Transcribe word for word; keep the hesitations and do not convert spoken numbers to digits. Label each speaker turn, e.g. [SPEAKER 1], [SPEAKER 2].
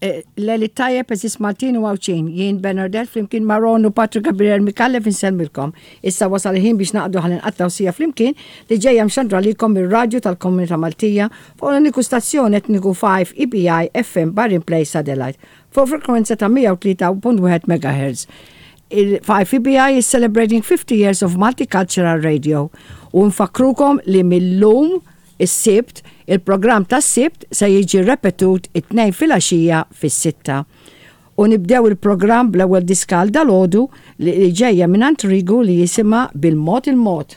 [SPEAKER 1] Lejl it-tajjeb, għeżież Maltin u Għawdxin, jien Bernadette flimkien ma' Ron u Patrick Gabriel Micallef insellmilkom. Issa wasal il-ħin biex naqdu ħalli nqattgħu siegħa flimkien li ġejja mxandra lilkom mir-radju tal-Komunità Maltija fuq l-uniku stazzjon etniku five E B I F M Bahrain Place Satellite fuq frekwenza ta' mija u tlieta punt wieħed M H. Il five E B I is celebrating fifty years of multicultural radio u nfakkrukom li mil-lum is-Sibt, il-programm tas-Sibt se jiġi repetut it-Tnejn filgħaxija fis-sitta. U nibdew il-programm bl-ewwel diska għal dalgħodu li ġejja minn Rigu li jisimha Bil-Mod il-Mod.